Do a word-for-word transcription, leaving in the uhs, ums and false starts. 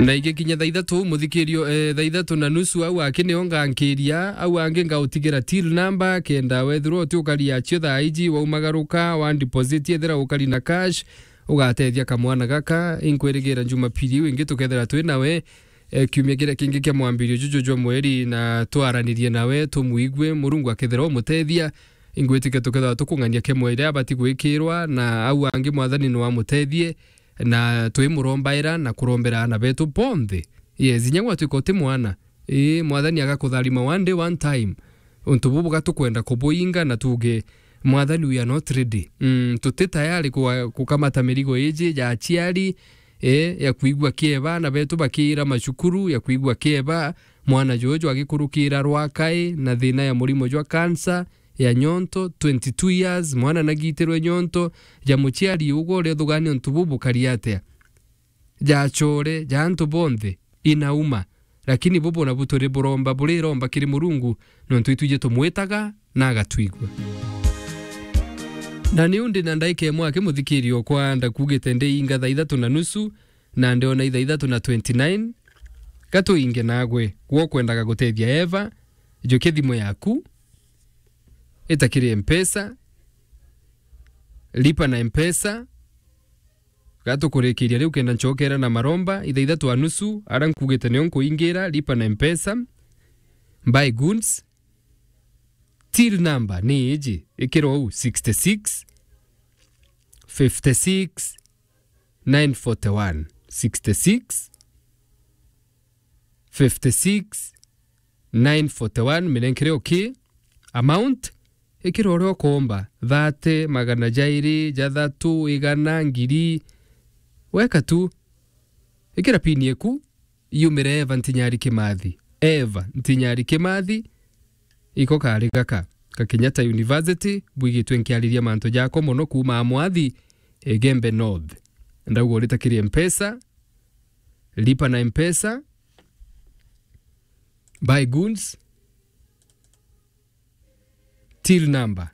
Na igikinya thaa ithatu, muthikirio, eh, thaa ithatu na nusu, au aki nio ngankiria, au angi ngautigira till number, kenda wethirwa uti ukari acio thaa iji, waumagaruka, wa deposit, ethira ukari na cash, ugatethia kamwana gaka. Inkwirigira Jumapili iu ingi tukethira twi nawe, eh, kiumia kiria kingi kia mwambirio juju jwa mweri, na twaranirie nawe, tumwigue, Murungu akethira umutethia. Ingwitikia tukethirwa tukung'ania kemwe iria abati gwikirwa, na au angi Mwathani no amutethie, na twimurombaira na kurombera aana betu bonthe. Yes, inya gwatuika uti mwana, ii, Mwathani agakutharima one day, one time. Untu bubu gatukwenda kubuinga na tuge, "Mwathani, we are not ready." Mm, tuti tayari kwa-, kukamata mirigo iji ya aciari, eh, ya kwigua kieba aana betu bakiira macukuru, ya kwigua kieba mwana juju agikurukira rwakai na thina ya murimo jwa cancer ya nyonto, twenty-two years, mwana nagitirwe nyonto, ja muciari ugwe uria uthugania untu bubu bukari atia? Ja acore, ja antu bonthe, inauma. Lakini bubu nabu turi buromba, buriromba kiri Murungu, nontu itwiji tumwitaga na agatwigua. Na niu ndi na ndaika imwe aki muthikirio kwa ndakugite ndi inga thaa ithatu na nusu, na ndiona ithaa ithatu na twenty-nine, gatuinge nagwe, gwe ukwendaga gutethia Eva, njukia thimu yaku, ita kiri Mpesa, lipa na Mpesa, gatukurikiria riu kenda ncokera na maromba, ithaa ithatu na nusu, ara nkugite nio nkuingira, lipa na Mpesa, buy goods, till number ni iji, ikira uu, sixty-six, fifty-six, nine forty-one, sixty-six, fifty-six, nine forty-one, minenkere okay. Amount, ikira uria ukomba, thirty, magana jairi, jathatu, igana, ngiri. Weka tu. Ikira pin iku, yumire Eva Ntinyari Kimathi. Eva Ntinyari Kimathi, iko kari gaka ka Kenyatta University, bwigitwe nkiariria mantu jako mono kuuma Amwathi, Igembe North. Ndauga urita kiri Mpesa, lipa na Mpesa, buy goods, till number